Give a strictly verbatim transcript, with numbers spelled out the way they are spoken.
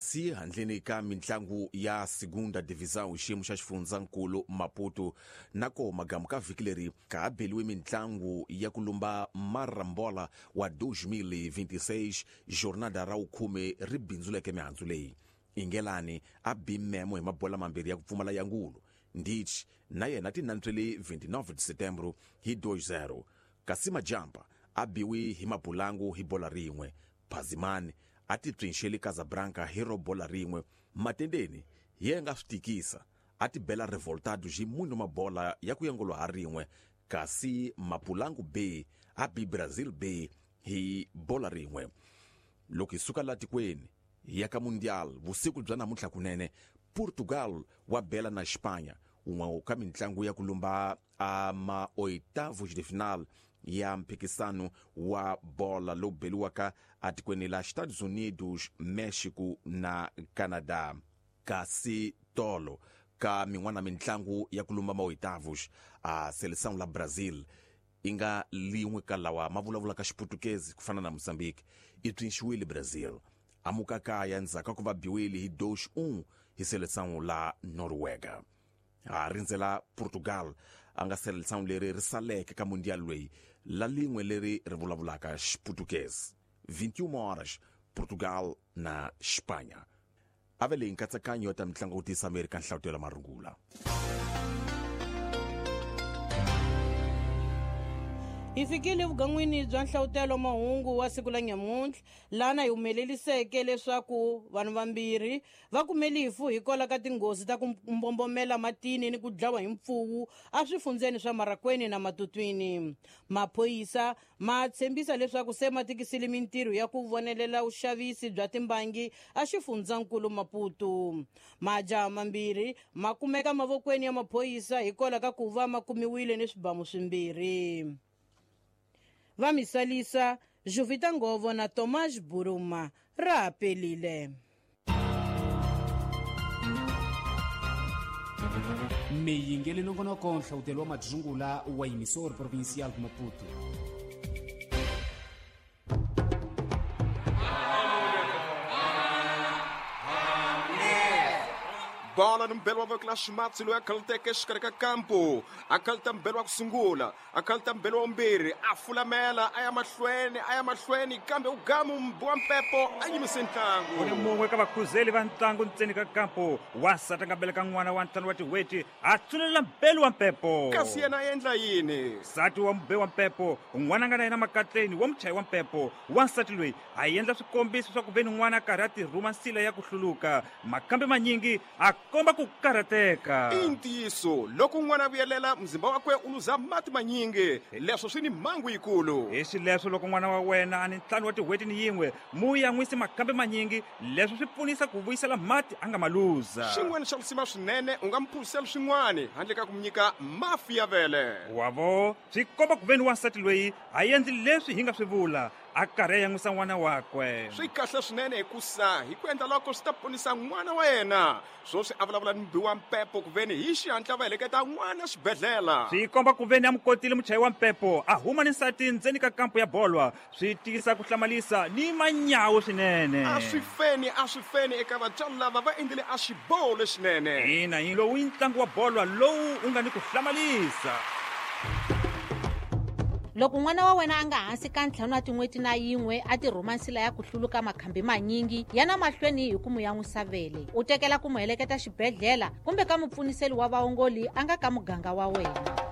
Kasi handleni ka mintlangu ya Segunda Divisão xiyimo xa xifundzankulu Maputo nako magamu ka vhiki leri ka ha beliwe mintlangu ya ku lumba Marambola wa dois mil e vinte e seis jornada ra vukhume ri bindzuleke mihandzu leyi. Ingelani a bi memo hi mabola mambirhi ya ku pfumala ya ngulu. Ndich na yena ti nantswele vinte e nove de setembro hi dois zero. Kasi Majampa a biwi hi mabulangu hi bola rin'we. Phazimani a ti pcinxeli Casablanca hi ro bola rin'we. Matendeni hi ye nga swi tikisa a ti bela Revoltado hi munhu mabola ya ku yangolo ha rin'we. Kasi Mapulangu B a bi Brazil B hi bola rin'we. Loko hi suka la tikweni hi ya ka Mundial vusiku bya namuntlha kunene Portugal wa bela na Espanha un'we ka mintlangu ya ku lumba a ma oitavos de final ya mphikisano wa bola lowu beliwaka atikweni la Estados Unidos, Mexico na Canada. Kasi tolo ka min'wana mintlangu ya ku lumba ma oitavos a seleção la Brazil yi nga lin'we ka lawa ma vulavulaka Xiputukezi ku fana na Mozambique i pfinxiwile Brazil amuka kaya ndzhaku ka ku va biwile hi dois um hi seleção la Noruega. Ha rindzela Portugal a nga seleção leri ri saleke ka mundial loyi la lin'we leri ri vulavulaka Xiputukezi. vinte e uma horas Portugal na Espanha. A ve leyi nkatsakanyo ta mitlangu ku tisa Amerika nhlavutelo marungula. Hi fikile vugan'wini bya nhlavutelo mahungu wa siku la nyamuntlha lana hi humeleliseke leswaku vanhu vambirhi va kume lifu hikwalaho ka tinghozi ta ku mbombomela matini ni ku dlawa hi mpfuwu eswifundzeni swa Marakwene na Matutwini. Maphorisa ma tshembisa leswaku se ma tikisile mintirho ya ku vonelela vuxavisi bya timbangi exifundzankulu Maputo. Majaha mambirhi ma kumeka mavokweni ya maphorisa hikwalaho ka ku va ma kumiwile ni swibamu swimbirhi. Va misalisa Jovita Ngovo na Tomás Buruma ra pelile. Miyingeli nongonoko nhlawutelo wa madzungula wa emissor provincial Maputo. Bola no mbelo wa voko la ximatsi loyi a khaluteke exikarhi ka kampo a khaluta mbelo wa ku sungula a khaluta mbelo wa vumbirhi a fulamela a ya mahlweni a ya mahlweni kambe u gamu mbi wa mpepo a yimise ntlangu. U ni mun'we ka vakhuzeli va ntlangu ntseni ka kampo wansati a nga beleka n'wana wa ntlhanu wa tin'hweti a tsunelela mbelo wa mpepo. Kasi yena a endla yini? Nsati wa mube wa mpepo n'wana nga na yena makatleni wa muchayi wa mpepo wansati loyi a endla swikombiso swa ku ve ni n'wana a karhi a tirhuma nsila ya ku hluluka makambe manyingi a komba ku karhateka. I ntiyiso loko n'wana a vuyelela mzimba wakwe u luza mati manyingi leswo swi ni mhangu yikulu. Hi xileswo loko n'wana wa wena a ni ntlhanu wa tin'hweti ni yin'we mu yan'wisi makambe manyingi leswo swi pfunisa ku vuyisela mati a nga ma luza. Xin'wana xa risima swinene u nga mu phuzisela swin'wana handle ka ku mu nyika mafi ya vele. Wavo swi komba ku ve ni wansati loyi a endli leswi hi nga swi vula a karhi a yan'wisa n'wana wakwe. Swi kahle swinene hikusa hi ku endla loko swi ta ponisa n'wana wa yena. Swoswi a vulavula ni mubi wa mpepo ku veni hi xihatla va heleketa n'wana xibedhlele. Swi komba ku veni a mu kotile muchayi wa mpepo a huma ni nsati ndzeni ka kampo ya bolwa swi tiyisa ku hlamalisa ni manyawu swinene. A swi feni a swi feni eka vatswari lava va endlile a xiboho lexinene. Ina hi lowu i ntlangu wa bolwa lowu u nga ni ku hlamalisa. Loko n'wana wa wena a nga hansi ka ntlhanu wa tin'hweti na yin'we a tirhuma nsila ya ku hluluka makhambi manyingi ya na mahlweni hi ku mu yan'wisa vele u tekela ku mu heleketa xibedhlele kumbe ka mupfuniseli wa vaongoli a nga ka muganga wa wena.